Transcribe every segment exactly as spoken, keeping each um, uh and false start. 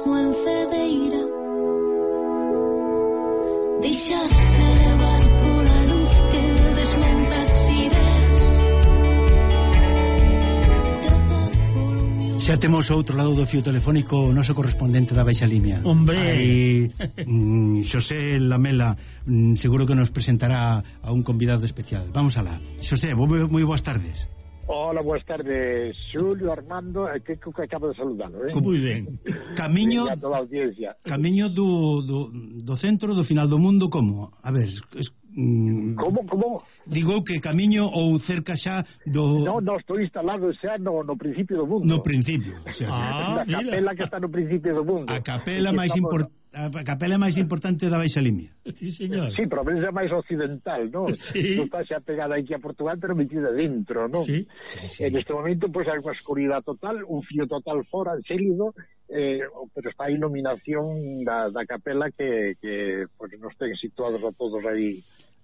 mesmo en Cedeira. Deixarse levar pola luz que desmenta as ideas. Xa temos ao outro lado do fío telefónico o noso correspondente da Baixa Limia. Hombre! Aí, mm, Xosé Lamela mm, seguro que nos presentará a un convidado especial. Vamos alá. Xosé, moi boas tardes. Hola, boas tardes, Xulio, Armando, que, que acabo de saludalo, eh? Moi ben. Camiño, camiño do, do, do centro do final do mundo, como? A ver, es, mm, como, como? Digo que camiño ou cerca xa do... No, no, estou instalado xa no, no principio do mundo. No principio, o sea, ah, a capela que está no principio do mundo. A capela máis importante. A capela máis importante da Baixa Limia. Sí, señor. Sí, pero a veces é máis occidental, ¿no? Sí. Non está xa pegada aquí a Portugal, pero metida dentro, ¿no? Sí. Sí, sí. En este momento, pues, hai unha escuridade total, un fío total fora, xélido, eh, pero está a iluminación da, da capela que, que pues, nos ten situados a todos aí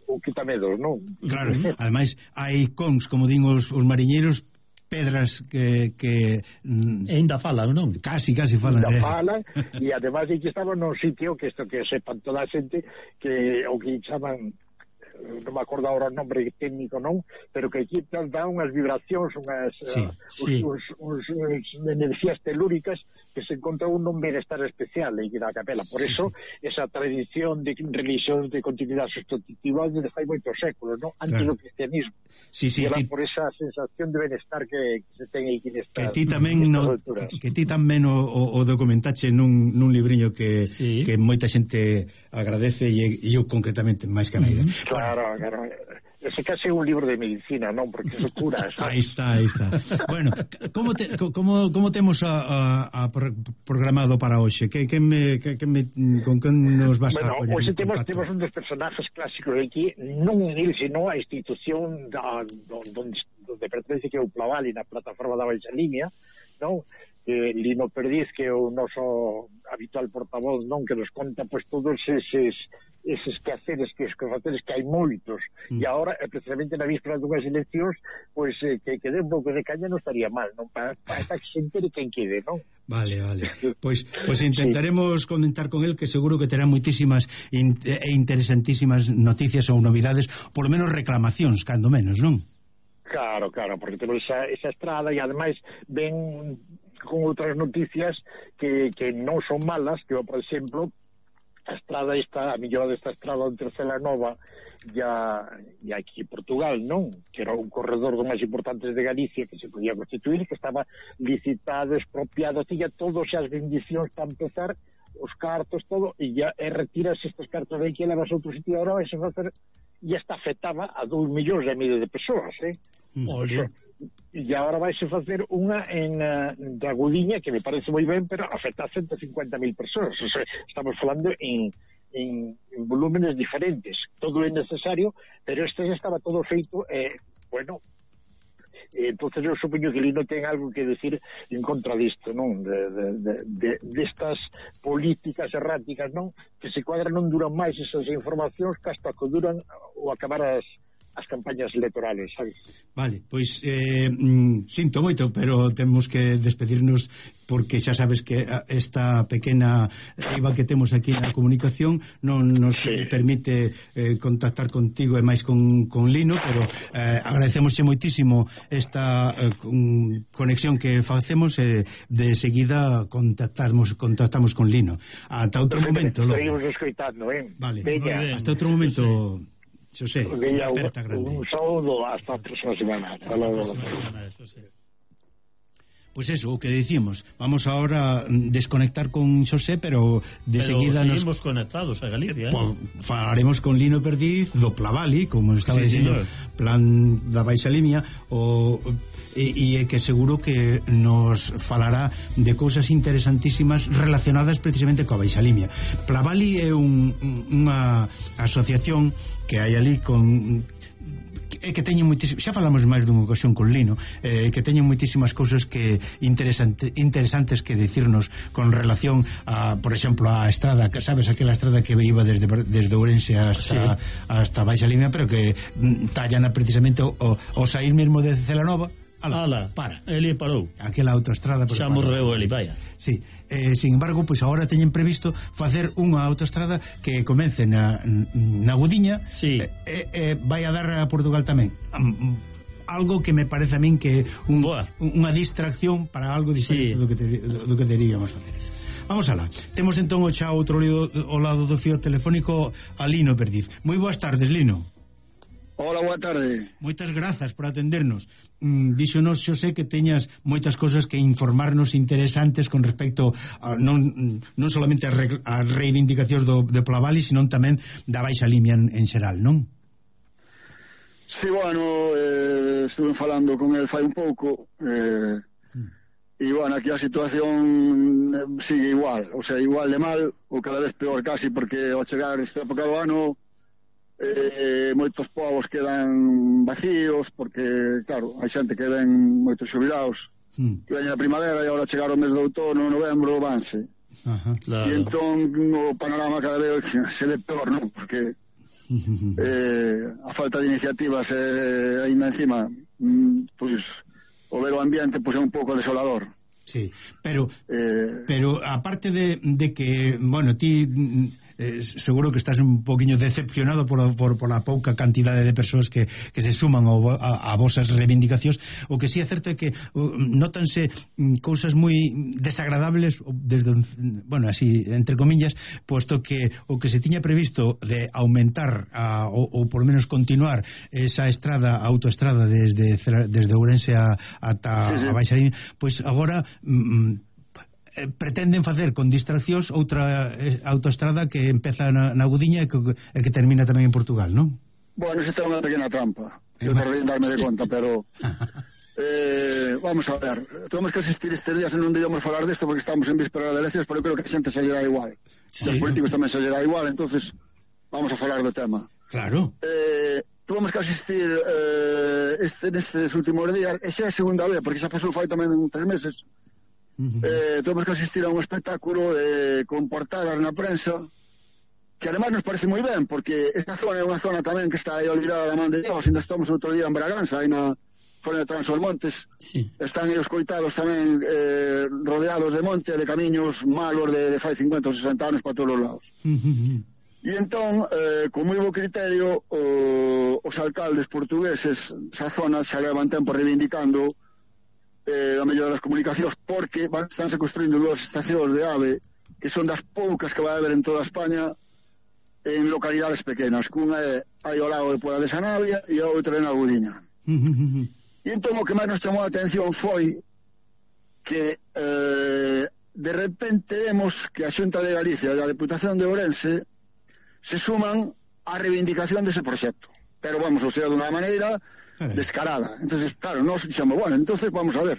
un quitamedos, ¿no? Claro, ademais, hai cons, como din os, os mariñeiros, pedras que que mm, ainda falan, non? Casi, casi falan. Ainda falan, e ademais aquí estaba nun sitio que isto que sepan toda a xente que o que chaman, non me acordo agora o nombre técnico, non? Pero que aquí dá unhas vibracións, unhas sí, uh, sí. Uns, uns, uns enerxías telúricas que se encontra un bienestar especial aí na capela. Por eso, sí, sí. esa tradición de religións de continuidade sustitutiva desde fai moitos séculos, non? Antes claro. do cristianismo. Sí, sí, era ti... por esa sensación de bienestar que, que se ten aí que estar. Que ti tamén no, que, que ti tamén o, o documentache nun, nun libriño que, sí. que moita xente agradece e, e eu concretamente máis que naida. Mm-hmm. Claro, bueno. claro. Ese case é un libro de medicina, non? Porque eso cura. Aí está, aí está. Bueno, como te, como como temos a, a, a programado para hoxe? Que que me que, que me con que nos vas bueno, a apoyar? Bueno, hoxe temos temos un dos personajes clásicos aquí, non el, sino a institución da donde donde pertence que é o Plavali na plataforma da Baixa Limia, non? Eh, Lino Perdiz, que é o noso habitual portavoz, non, que nos conta pois todos eses eses quehaceres, que os quehaceres que hai moitos, mm. e agora, precisamente na víspera dunhas eleccións, pois eh, que, que dé un pouco de caña non estaría mal, non? Para, para que se entere quen quede, non? Vale, vale. Pois, pois intentaremos sí. comentar con el, que seguro que terá moitísimas in, e interesantísimas noticias ou novidades, polo menos reclamacións, cando menos, non? Claro, claro, porque temos esa, esa estrada e ademais ven con outras noticias que, que non son malas, que, por exemplo, a estrada esta, a millora desta estrada entre Celanova e, a, e aquí Portugal, non? Que era un corredor dos máis importantes de Galicia que se podía constituir, que estaba licitado, expropiado, tiña todos as bendicións para empezar, os cartos, todo, e ya e retiras estes cartos de aquí e levas a outro sitio agora, e se facer, e esta afectaba a dous millóns e medio de persoas, eh? Olha. E agora vais a facer unha en uh, de Agudiña, que me parece moi ben, pero afecta a ciento cincuenta mil persoas. O sea, estamos falando en, en, en volúmenes diferentes. Todo é necesario, pero este já estaba todo feito, eh, bueno, eh, entonces eu supoño que Lino ten algo que decir en contra disto, non? De, de, de, de, destas políticas erráticas, non? Que se cuadran, non duran máis esas informacións que hasta que duran ou acabar as as campañas electorales, sabes? Vale, pois eh, mm, sinto moito, pero temos que despedirnos porque xa sabes que esta pequena eiva que temos aquí na comunicación non nos sí. permite eh, contactar contigo e máis con, con Lino, pero eh, agradecemosche moitísimo esta eh, conexión que facemos e eh, de seguida contactamos contactamos con Lino. Ata outro pero momento. Seguimos escoitando, eh? Vale, hasta outro momento. Sí. Xosé, unha aperta grande. Un saúdo hasta a próxima semana. Hasta logo. Pois pues eso, o que dicimos, vamos ahora desconectar con Xosé, pero de pero seguida nos seguimos conectados a Galicia, eh? Pues, falaremos con Lino Perdiz do Plavali, como estaba sí, dicindo, señor. Plan da Baixa Limia, o e, e que seguro que nos falará de cousas interesantísimas relacionadas precisamente coa Baixa Limia. Plavali é un, unha asociación que hai ali con que, que teñen moitísimas, xa falamos máis dunha ocasión con Lino, eh, que teñen moitísimas cousas que interesante, interesantes que dicirnos con relación a, por exemplo, a estrada, que sabes, aquela estrada que iba desde desde Ourense hasta sí. hasta Baixa Limia, pero que tallana precisamente o, o sair mesmo de Celanova ala, Ala, para. Eli parou. Aquela autoestrada Xa morreu Eli, vaya. Sí, eh, sin embargo, pois pues agora teñen previsto facer unha autoestrada que comece na, na Gudiña, sí. e eh, eh, vai a dar a Portugal tamén. Um, algo que me parece a min que un, unha distracción para algo diferente sí. do que te, do, do que teríamos facer. Vamos alá. Temos entón o xa outro lío ao lado do fío telefónico a Lino Perdiz. Moi boas tardes, Lino. Hola, boa tarde. Moitas grazas por atendernos. Mm, díxonos, xo sei que teñas moitas cosas que informarnos interesantes con respecto a non, non solamente a, re, a reivindicacións do, de Plavali, sino tamén da Baixa Limia en, en xeral, non? Sí, bueno, eh, estuve falando con el fai un pouco, eh, e, bueno, aquí a situación sigue igual, o sea, igual de mal, ou cada vez peor casi, porque ao chegar esta época do ano, eh, moitos povos quedan vacíos porque, claro, hai xente que ven moitos xubilados mm. que ven a primavera e agora chegar o mes de outono, novembro, vanse. Ajá, claro. E entón o panorama cada vez se ve peor, non? Porque eh, a falta de iniciativas eh, ainda encima mm, pois o ver o ambiente pois é un pouco desolador. Sí, pero eh, pero aparte de, de que, bueno, ti eh, seguro que estás un poquinho decepcionado por, por, por a pouca cantidade de persoas que, que se suman ao, a, a vosas reivindicacións. O que sí é certo é que uh, nótanse cousas moi desagradables desde, bueno, así, entre comillas, posto que o que se tiña previsto de aumentar a, ou, ou por lo menos continuar esa estrada, autoestrada desde, desde Ourense a, ata sí, sí. a Baixa Limia, pois pues agora mm, Eh, pretenden facer con distraccións outra eh, autoestrada que empeza na, na Gudiña e que, e que termina tamén en Portugal, non? Bueno, esa é unha pequena trampa. Eu tardei en darme de conta, pero eh, vamos a ver, temos que asistir estes días e non debemos falar desto porque estamos en víspera de eleccións, pero eu creo que a xente se lle dá igual. Sí. Os políticos tamén se lle dá igual, entonces vamos a falar do tema. Claro. Eh, tuvemos que asistir eh, este, nestes últimos días, e xa é a segunda vez, porque xa pasou fai tamén tres meses. Uh-huh. Eh, temos que asistir a un espectáculo de, con portadas na prensa que además nos parece moi ben porque esta zona é unha zona tamén que está aí olvidada da man de Dios. Ainda estamos outro día en Braganza, aí na zona de Transolmontes, sí. Están aí os coitados tamén eh, rodeados de monte, de camiños malos de, de fai cincuenta ou sesenta anos para todos os lados. Uh-huh. E entón, eh, con moi bo criterio o, os alcaldes portugueses esa zona xa levan tempo reivindicando Eh, a mellora das comunicacións porque van, estánse construindo dúas estacións de AVE que son das poucas que vai haber en toda España en localidades pequenas, que unha é aí ao lado de Pola de Sanabria e a outra é na Gudiña. E entón o que máis nos chamou a atención foi que eh, de repente vemos que a Xunta de Galicia e a Deputación de Ourense se suman á reivindicación dese proxecto, pero vamos, o sea, dunha maneira descarada. Entonces, claro, nos dixemos, bueno, entonces vamos a ver,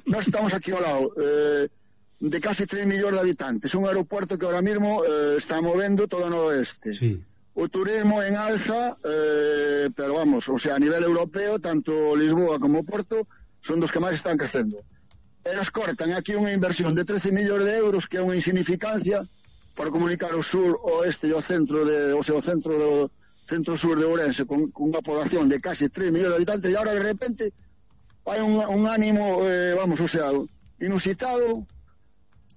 nós estamos aquí ao lado eh, de casi tres millóns de habitantes, un aeropuerto que ahora mismo eh, está movendo todo o noroeste, sí. O turismo en alza, eh, pero vamos, o sea, a nivel europeo, tanto Lisboa como Porto son dos que máis están crecendo, e nos cortan aquí unha inversión de trece millóns de euros, que é unha insignificancia para comunicar o sur, o oeste e o centro de, o sea, o centro do centro-sur de Ourense con, con unha población de casi tres millóns de habitantes, e ahora de repente hai un, un ánimo, eh, vamos, o sea, inusitado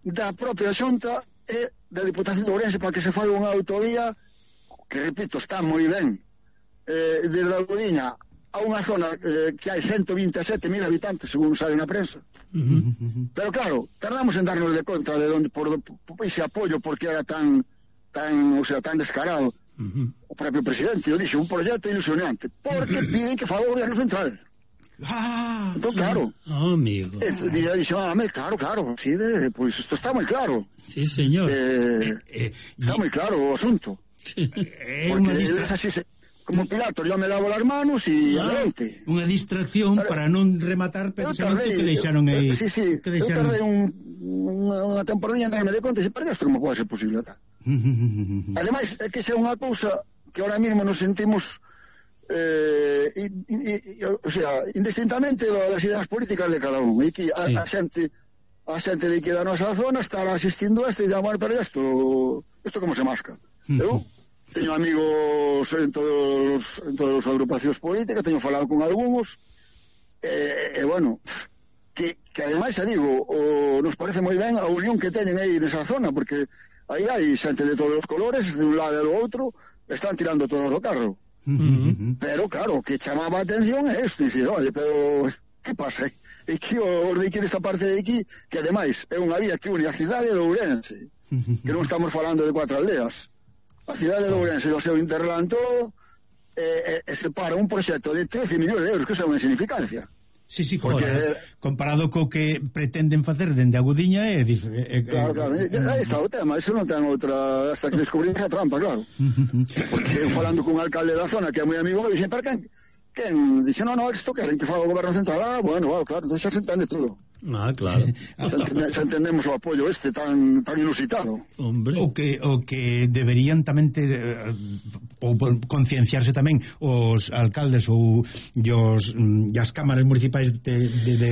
da propia Xunta e da Diputación de Ourense para que se faga unha autovía que, repito, está moi ben eh, desde a Gudiña a unha zona eh, que hai ciento vinte e sete mil habitantes, según sale na prensa. Uh-huh. Pero claro, tardamos en darnos de conta de onde por, por ese apoio porque era tan tan, o sea, tan descarado. Uh-huh. O propio presidente o dixo, un proxecto ilusionante porque piden que faga o goberno central. Ah, entón, claro, oh, amigo. E dixo, ah, claro, claro, sí, de, pues isto está moi claro. Sí, señor. Eh, eh, eh, está y... moi claro o asunto. É unha distracción. Como Pilato, yo me lavo las manos e ah, adelante. Unha distracción pero, para non rematar precisamente que deixaron aí. Sí, sí, que deixaron... eu tardei un, unha, unha temporadinha en darme de conta e se perdeste como pode ser posible tal. Ademais, é que xa unha cousa que ahora mesmo nos sentimos eh, y, y, y, o sea, indistintamente das ideas políticas de cada un, e que a, sí. a xente a xente de que da nosa zona estará asistindo a este e llamar, pero isto isto como se masca. Eu teño amigos en todos en todas as agrupacións políticas, teño falado con algúns e, e bueno, que, que ademais, xa digo, o, nos parece moi ben a unión que teñen aí nesa zona, porque aí hai xente de todos os colores, de un lado e do outro, están tirando todos do carro. Uh-huh. Pero, claro, o que chamaba a atención é isto, dicir, oye, pero que pasa? E que os de aquí desta parte de aquí, que ademais é unha vía que une a cidade de Ourense, que non estamos falando de cuatro aldeas, a cidade de Ourense e o seu interland todo, e, e, e se para un proxecto de trece millóns de euros, que é unha insignificancia. Sí, sí, porque, comparado co que pretenden facer dende Agudiña é... é claro, claro, aí está o tema, eso non ten outra, hasta que descubrimos a trampa, claro. Porque falando cun alcalde da zona que é moi amigo, me dixen, pero quen? Quen? Dixe, non, non, isto queren que faga o goberno central. Ah, bueno, bueno, claro, entón xa se entende todo. Ah, claro. Xa, entende, xa entendemos o apoio este tan tan inusitado. Hombre. O que o que deberían tamén ter uh, ou concienciarse tamén os alcaldes ou os e as cámaras municipais de, de, de,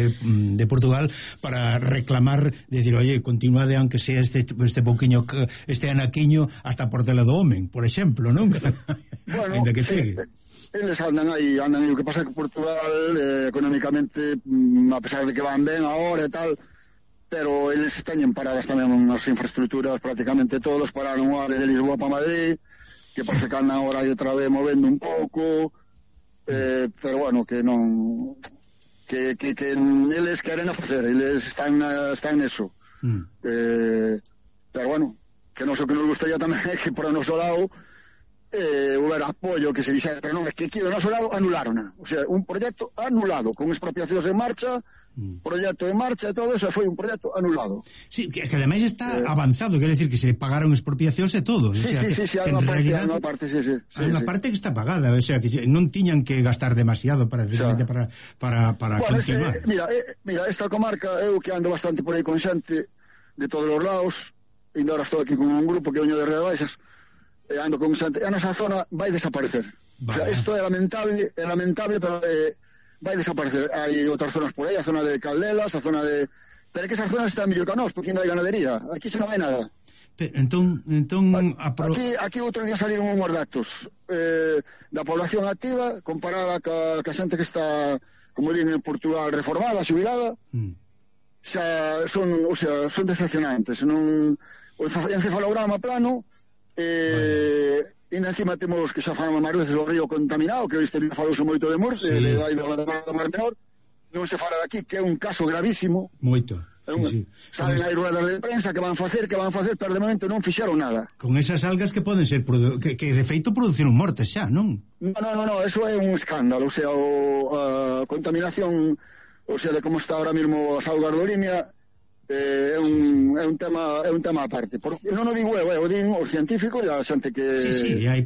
de Portugal para reclamar, decir, oye, continuade aunque sea este este pouquiño, este anaquiño hasta Portela do Homen, por exemplo, non? Bueno, ainda que sí, chegue. Eles andan aí, andan aí, o que pasa é que Portugal eh, económicamente, mm, a pesar de que van ben agora e tal, pero eles teñen paradas tamén as infraestructuras prácticamente todos, pararon o AVE de Lisboa para Madrid, que parece que andan agora aí outra vez movendo un pouco, eh, pero bueno, que non que, que, que eles queren a facer, eles están, están neso. Mm. Eh, pero bueno, que non sei o que nos gustaría tamén é que por o noso lado eh, houver apoio, que se dixera, pero non, é que aquí do noso lado anularon, o sea, un proxecto anulado, con expropiacións en marcha, mm. proxecto en marcha e todo eso, foi un proxecto anulado. Sí, que, que ademais está eh, avanzado, quer decir que se pagaron expropiacións e todo, sí, o sea, sí, que, sí, sí, que hai en unha realidad parte, parte, sí, sí, sí, hai unha sí. parte que está pagada, o sea, que non tiñan que gastar demasiado para, o sea, para, para, para bueno, continuar. Este, mira, eh, mira, esta comarca, eu que ando bastante por aí con xente de todos os lados, e agora estou aquí con un grupo que veño de Rías Baixas, e ando con xente, a nosa zona vai desaparecer. Vale. O sea, isto é lamentable, é lamentable, pero eh, vai desaparecer. Hai outras zonas por aí, a zona de Caldelas, a zona de... Pero é que esas zonas están mellor que a nós, porque ainda hai ganadería. Aquí se non hai nada. Pero, entón, entón apro... aquí, aquí outro día saliron unhos datos eh, da población activa comparada ca, ca xente que está, como din en Portugal, reformada, xubilada, mm. xa son, o sea, son decepcionantes. Non, o encefalograma plano, eh, e ainda encima temos que xa falamos máis veces o río contaminado, que este día falouse moito de morte, sí. de, de, de, de, de Mar Menor, non se fala daqui, que é un caso gravísimo. Moito. Un, sí, sí. Saben hai ruedas de prensa que van facer, que van facer, pero de momento non fixeron nada. Con esas algas que poden ser que, que de feito produciron mortes xa, non? No, no, no, no, eso é un escándalo, o sea, o, a contaminación, o sea, de como está ahora mismo as augas do Limia, eh, é un é un tema é un tema aparte. Porque non o digo eu, o din os científicos e a xente que sí, sí, hai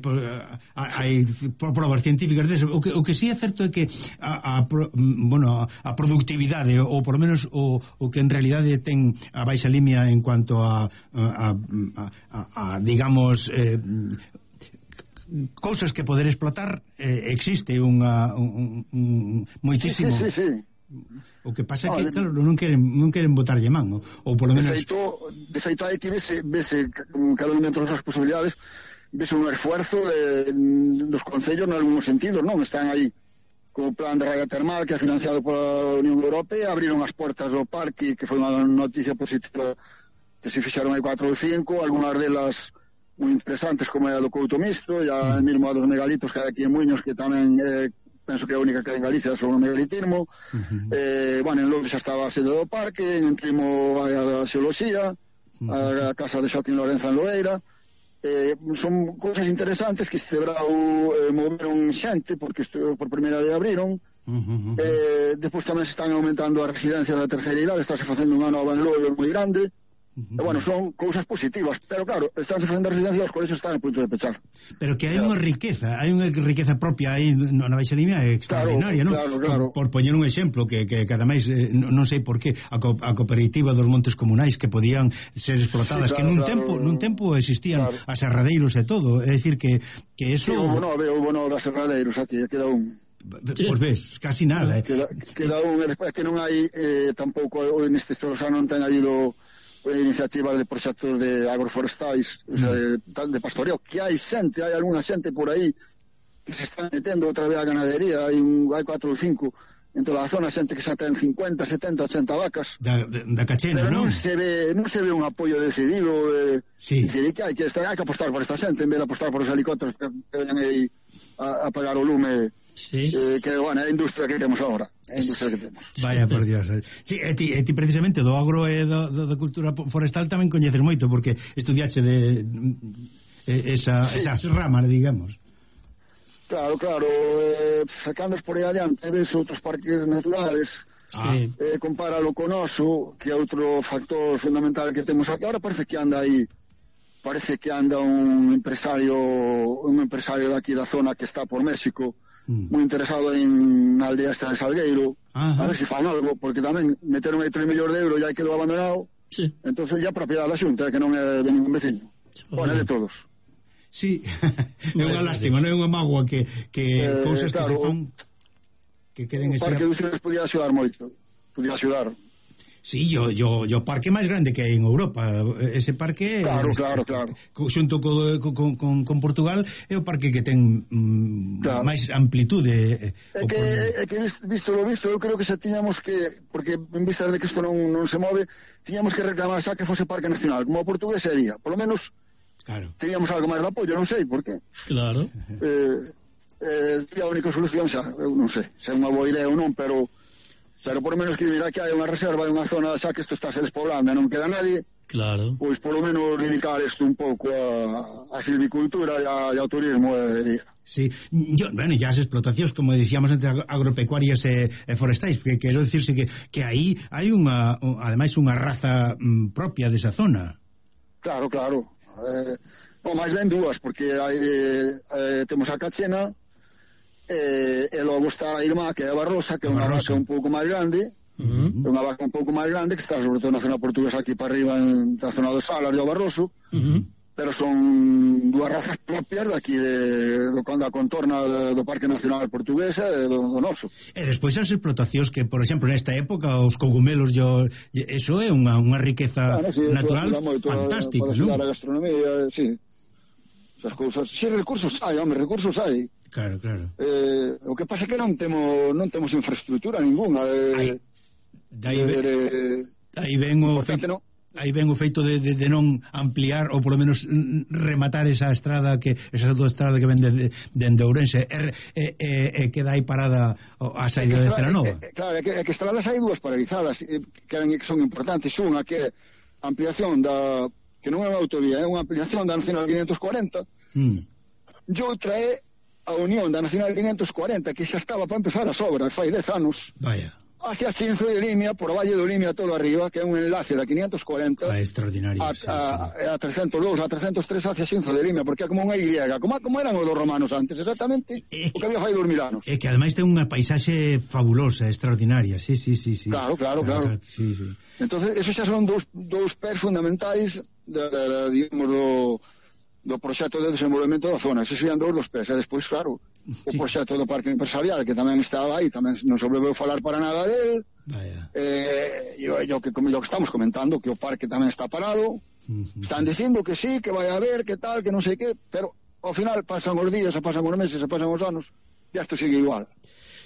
hai probas científicas deso. O que o que si sí é certo é que a, a bueno, a productividade ou por lo menos o o que en realidade ten a Baixa Limia en cuanto a a, a, a, a digamos eh, cousas que poder explotar, eh, existe unha un, un moitísimo. Sí, sí, sí, sí. O que pasa é que, claro, non queren non queren botarlle man, ou, ou polo menos... De feito, de feito hai que vese, vese cada un dentro das posibilidades, vese un esfuerzo de, dos concellos en algúns sentidos, non? Están aí como plan de raya termal que é financiado pola Unión Europea, abriron as portas do parque, que foi unha noticia positiva, que se fixaron aí cuatro ou cinco, algunhas delas moi interesantes, como é a do Couto Misto, e a sí. mesmo a dos megalitos que hai aquí en Muiños, que tamén é... Eh, penso que é a única que hai en Galicia sobre o megalitismo. Uh-huh. eh, bueno, en Lourdes xa estaba a sede do parque, en Trimo a, a xeoloxía, uh-huh. a, a casa de Xoaquín Lorenza en Loeira. Eh, son cousas interesantes que este brau eh, moveron xente, porque isto por primeira vez abriron. Uh-huh. eh, despois tamén se están aumentando as residencias da terceira idade, estáse facendo unha nova en Loeira moi grande. Uh-huh. E, bueno, son cousas positivas, pero claro, están facendo residencia, os colexios están a punto de pechar. Pero que hai unha riqueza, hai unha riqueza propia aí na Baixa Limia extraordinaria, claro, non? Claro, claro. Por, por poñer un exemplo, que, que, que ademais eh, non sei por qué a, co, a cooperativa dos montes comunais que podían ser explotadas, sí, claro, que nun claro, tempo nun tempo existían claro. as serradeiros e todo, é dicir que, que eso... Sí, hubo no, hubo no das serradeiros aquí, queda un... Pois ves, casi nada, eh. Queda, queda un, e despois que non hai eh, tampouco, neste ano non ten habido iniciativas de proxectos de agroforestais, o sea, de, de pastoreo, que hai xente, hai algunha xente por aí que se están metendo outra vez a ganadería, hai, un, hai cuatro ou cinco en toda a zona, xente que xa ten cincuenta, setenta, ochenta vacas. Da, da, da Cachena, pero non, non? se ve, non se ve un apoio decidido. Eh, sí. Dicir, que hai que, estar, hai que apostar por esta xente en vez de apostar por os helicópteros que, que veñan aí a, a pagar o lume. Sí. Eh, que, bueno, é a industria que temos agora. É a industria que temos. Vaya, por Dios. Sí, e ti, e ti precisamente do agro e do, do, da cultura forestal tamén coñeces moito, porque estudiache de, de esa, sí. esa rama, digamos. Claro, claro, eh, cando por aí adiante ves outros parques naturales, sí. eh, compáralo con oso, que é outro factor fundamental que temos aquí. Ahora parece que anda aí, parece que anda un empresario un empresario daqui da zona que está por México, mm. moi interesado en na aldea esta de Salgueiro. Ajá. A ver se fan algo, porque tamén meteron aí tres millóns de euros e aí quedou abandonado. Sí. Entonces ya propiedade da Xunta, que non é de ningún veciño. Bueno, é de todos. Sí, é unha lástima, non é unha mágoa que, que eh, cousas claro, que se fan que queden ese... O Parque Industriales podía axudar moito, podía axudar. Sí, yo, yo, yo parque máis grande que hai en Europa, ese parque claro, es, claro, claro. xunto co, con, con, con Portugal é o parque que ten mm, claro. máis amplitude. É que, é que visto lo visto, eu creo que xa tiñamos que, porque en vista de que isto non, non se move, tiñamos que reclamar xa que fose parque nacional, como o portugués sería, por lo menos. Claro. Teníamos algo máis de apoio, non sei por qué. Claro. Eh, eh, a única solución xa, eu non sei, se é unha boa idea ou non, pero pero por lo menos que mira que hai unha reserva e unha zona xa que isto está se despoblando e non queda nadie. Claro. Pois por lo menos dedicar isto un pouco a, a silvicultura e, a, e ao turismo. Eh, sí, yo, bueno, ya as explotacións, como dicíamos, entre agropecuarias e, e forestais, que quero dicirse que, que aí hai unha, ademais unha raza mm, propia desa zona. Claro, claro. Eh, bom, máis ben dúas, porque hai, eh, temos a Cachena eh, e logo está a Irmá, que é a Barrosa, que é unha vaca un pouco máis grande, uh-huh. é unha vaca un pouco máis grande, que está sobre todo na zona portuguesa aquí para arriba, en na zona do Salar e do Barroso, uh-huh. pero son dúas razas propias daqui de, do, da contorna do, do Parque Nacional Portugués e do, do noso. E despois as explotacións que, por exemplo, nesta época os cogumelos, yo, eso é unha, unha riqueza bueno, sí, natural moito, fantástica, non? A gastronomía, sí. Esas cousas, sí, recursos hai, home, recursos hai. Claro, claro. Eh, o que pasa é que non temos non temos infraestructura ninguna. Eh, Aí ven, aí ven o feito, no? aí ven o feito de, de, de non ampliar ou polo menos rematar esa estrada que esa autoestrada que ven de, de, de, de Ourense e, e, e, e queda aí parada a saída de Celanova. É, é, claro, é que, é que estradas hai dúas paralizadas que, que son importantes. Unha que é a ampliación da, que non é unha autovía, é unha ampliación da Nacional quinientos cuarenta, mm. e outra é a unión da Nacional quinientos cuarenta, que xa estaba para empezar as obras fai dez anos. Vaya. Hacia Chinzo de Limia, por o Valle do Limia todo arriba, que é un enlace da quinientos cuarenta ah, extraordinario, a, sí, a, sí. a trescentos dous, a trescentos tres hacia Chinzo de Limia, porque é como unha Y, como, como eran os dos romanos antes, exactamente é o que había fai dos mil anos. É que ademais ten unha paisaxe fabulosa, extraordinaria, sí, sí, sí, sí. Claro, claro, claro, claro. Sí, sí. Entonces, esos xa son dous, dous pés fundamentais de, de, de, digamos, do, do proxecto de desenvolvemento da zona. Esos serían dous dos pés, e despois, claro, o sí. proxecto do parque empresarial, que tamén estaba aí, tamén non se volveu falar para nada del. Vaya. Eh, yo, yo, que, como lo que estamos comentando, que o parque tamén está parado, uh-huh. están dicindo que sí, que vai a haber, que tal, que non sei que, pero ao final pasan os días, se pasan os meses, se pasan os anos, e isto sigue igual.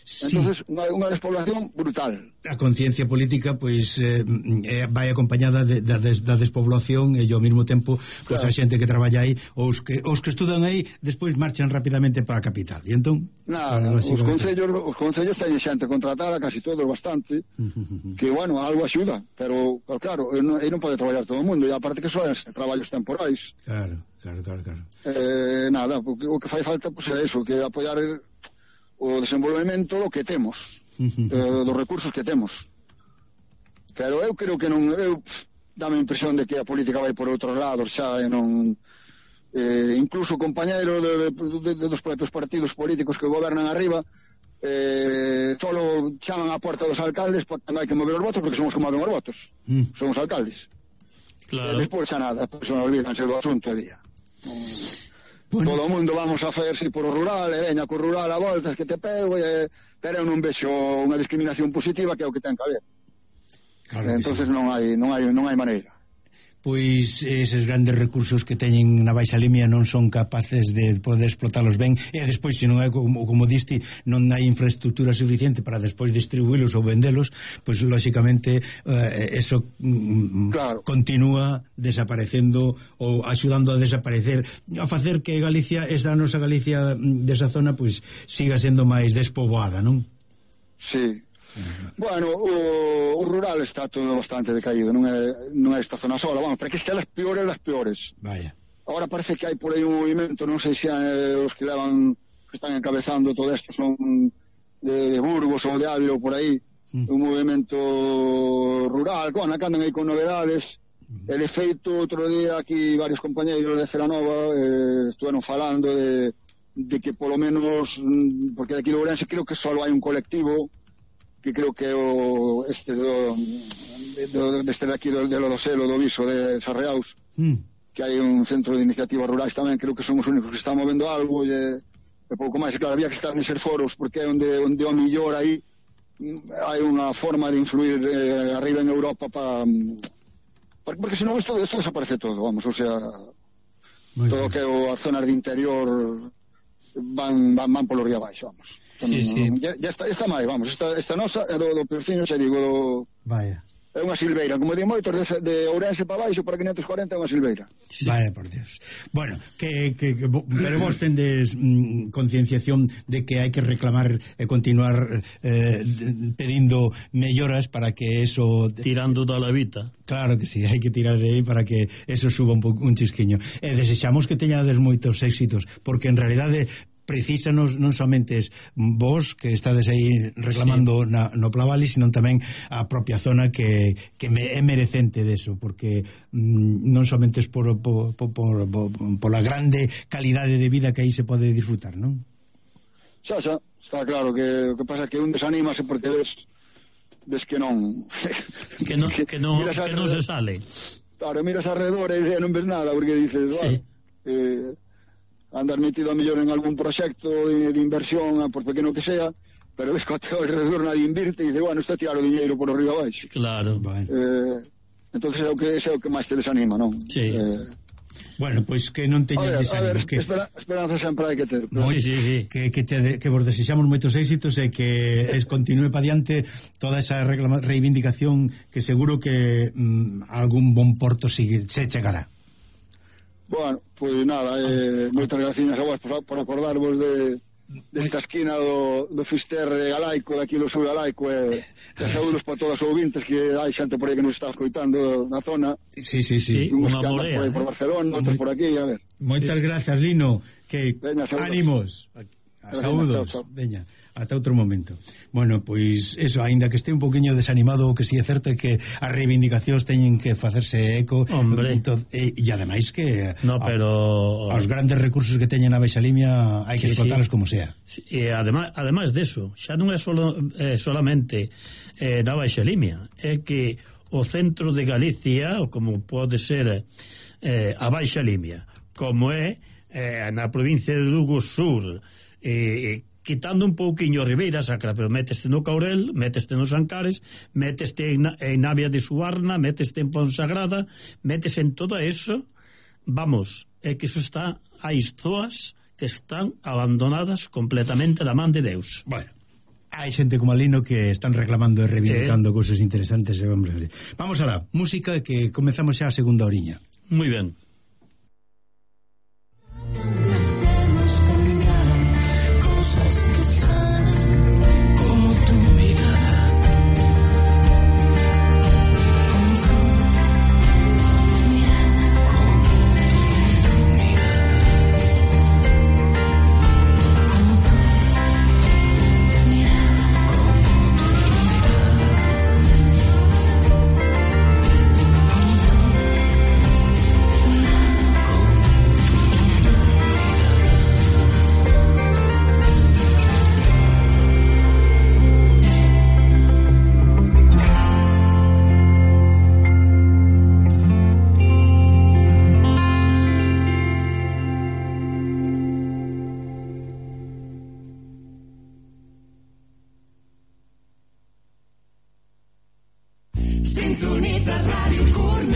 Sí. Entonces, unha, unha despoblación brutal. A conciencia política, pois, eh, eh, vai acompañada de, da, des, da despoblación e ao mesmo tempo, pois, claro. a xente que traballa aí, os que, os que estudan aí, despois marchan rapidamente para a capital. E entón... Nada, os concellos, os concellos teñen xente contratada, casi todos, bastante, que, bueno, algo axuda, pero, pero claro, aí non, non pode traballar todo o mundo, e aparte que son traballos temporais. Claro, claro, claro, claro. Eh, nada, o que, o que fai falta, pois, é iso, que apoiar o desenvolvemento do que temos, eh, dos recursos que temos. Pero eu creo que non, eu dame a impresión de que a política vai por outros lados xa, e non, eh, incluso compañeiros de, de, de, dos propios partidos políticos que gobernan arriba, eh, solo chaman a porta dos alcaldes porque non hai que mover os votos, porque somos como moven os votos, mm. somos alcaldes. Claro. E despois xa nada, despois non olvídanse do asunto e vía. Mm. Bueno. Todo o mundo vamos a facerse por o rural, e veña co rural a voltas que te pego, e, pero eu non vexo unha discriminación positiva, que é o que ten que haber. Claro que entonces sí. non hai non hai non hai maneira. pois eses grandes recursos que teñen na Baixa Limia non son capaces de poder explotalos ben, e despois, se non é como, como diste, non hai infraestructura suficiente para despois distribuílos ou vendelos, pois lóxicamente eh, eso mm, claro. continúa desaparecendo ou axudando a desaparecer, a facer que Galicia, esa nosa Galicia desa zona, pois siga sendo máis despoboada, non? Sí. Bueno, o, o rural está todo bastante decaído, non é, non é esta zona sola, vamos, porque es que é las peores das peores. Vaya. Ahora parece que hai por aí un movimento, non sei se é os que levan, que están encabezando todo isto son de, de Burgos ou de Ávila ou por aí, mm. un movimento rural, bueno, que andan aí con novedades, mm. e de feito, outro día aquí varios compañeiros de Celanova eh, estuveron falando de, de que polo menos, porque aquí de Ourense creo que só hai un colectivo que creo que o este do, do, deste de aquí do, de Lodoselo, do Viso de Sarreaus, mm. que hai un centro de iniciativas rurais tamén, creo que son os únicos que están movendo algo, e, e pouco máis, claro, había que estar neses foros, porque é onde, onde o millor aí hai unha forma de influir eh, arriba en Europa para, pa, porque senón isto, isto desaparece todo, vamos, o sea, muy todo o que o as zonas de interior van, van, van polo río abaixo, vamos. Sí, sí. Ya, ya está, está máis, vamos, esta, esta nosa é do, do peorciño, xa digo, do... Vaya. É unha silveira, como di moitos, de, de Ourense para baixo, para quinientos corenta é unha silveira. Sí. Vaya, por Dios. Bueno, que, que, que pero vos tendes mm, concienciación de que hai que reclamar e continuar eh, pedindo melloras para que eso... Tirando da levita. Claro que sí, hai que tirar de aí para que eso suba un, un chisquiño. E desexamos que teñades moitos éxitos, porque en realidade precísanos non somente vos que estades aí reclamando sí. na, no Plavali, sino tamén a propia zona que, que me, é merecente deso, porque mm, non somente es por, por, por, por, por la grande calidade de vida que aí se pode disfrutar, non? Xa, xa, está claro que o que pasa é que un desanímase porque ves, ves que non que non, que non, que non se sale. Claro, miras alrededor e non ves nada, porque dices, sí. bueno, eh, andar metido a mellor en algún proxecto de, de inversión, por pequeno que sea, pero ves que ao alrededor nadie invirte e dice, bueno, está a tirar o diñeiro por arriba abaixo. Claro. Bueno. Eh, entonces é o que, é o que máis te desanima, non? Sí. Eh, bueno, pois pues que non teñan desánimo. A ver, que... espera, esperanza sempre hai que ter. Pero... Sí, sí, sí. Que, que, te, que vos desexamos moitos éxitos e que es, continúe pa diante toda esa reclama, reivindicación que seguro que mm, algún bon porto sigue, se chegará. Bueno, pois pues nada, eh, moitas gracias a vos por, por acordarvos de desta esquina do, do Fisterre galaico, daqui do sur galaico, e, e saúdos para todas os ouvintes, que hai xente por aí que nos está escoitando na zona. Sí, sí, sí. sí Uns unha que andan morea, por, aí, por Barcelona, outros por aquí, a ver. Moitas sí. grazas, Lino, que Veña, saúdos. ánimos. A saúdos. Chao, chao. Veña, ata outro momento. Bueno, pois eso, aínda que este un poquinho desanimado, o que si sí é certo é que as reivindicacións teñen que facerse eco. Hombre. E, e ademais que no, pero... a, os grandes recursos que teñen a Baixa Limia hai que sí, explotalos sí. como sea. Sí, e ademais, ademais deso, xa non é solo, eh, solamente eh, da Baixa Limia, é que o centro de Galicia, ou como pode ser eh, a Baixa Limia, como é eh, na provincia de Lugo Sur, eh, quitando un pouquiño a Ribeira Sacra, pero meteste no Caurel, meteste nos Ancares, meteste en, en Navia de Suarna, meteste en Fonsagrada, meteste en todo eso, vamos, é que eso está, hai zoas que están abandonadas completamente da man de Deus. Bueno, hai xente como Alino que están reclamando e reivindicando eh. cousas interesantes. E vamos, vamos alá, música, que comezamos xa a segunda oriña. Moi ben. Sintonitzes